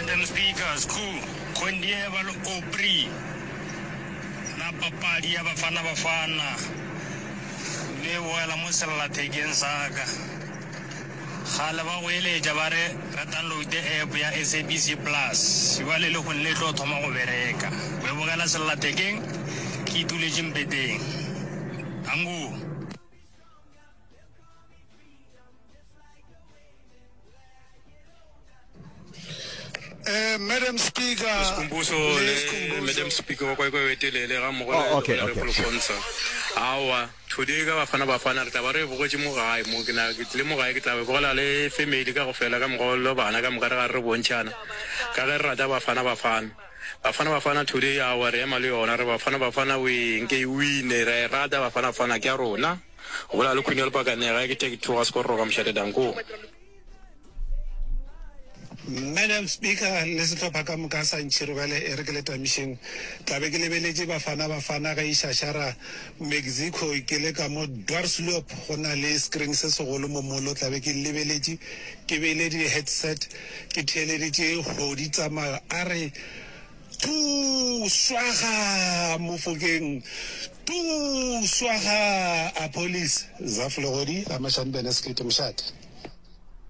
Madam Speaker, Skhoo, Khondieva le Aubrey na papadi ya Bafana Bafana le e bogela mo sellathekeng sa ka. Kgale ba goeletša ba re re downloade app ya SABC Plus, bjale lehono le tlo thoma go bereka. Go e bogela sellathekeng ke ituletše mpeteng. Danko. Eh, Madam Speaker, Skhumbuzo le le Skhumbuzo. Madam Speaker wa kwa kwa telele ga mmogo Oh, le okay, okay, Honorable sure. Khonsa. Aowa, today ka Bafana Bafana re tla ba re e bogetše mo gae mo ke na ke tlile mo gae ke tla be bogela le family ka go fela ka mokgwa le bana ka moka re ga re bontšhana ka ge re rata Bafana Bafana. Bafana Bafana today aowa re ema le yona re Bafana Bafana we nke e wine re a e rata Bafana Bafana ke ya rona. Go bolela le Queen ya Lepakane gae ke 32 ga Sekororo ka mošate danko. Madam Speaker le sehlopha ka moka sa Ntšhirobele e re ke le tamišeng. Tla be ke lebeletše Bafana Bafana ge e šašara Mexico ke le ka mo Dwarsloop go na le screen se segolo mo molo tla be ke lebeletše ke beile di headset ke theeleditše Hodi Tsamayo a re Tuu swaga Mofokeng tuu swaga Appollis Zaf Legodi ga Mashanbene Sekete Mošate.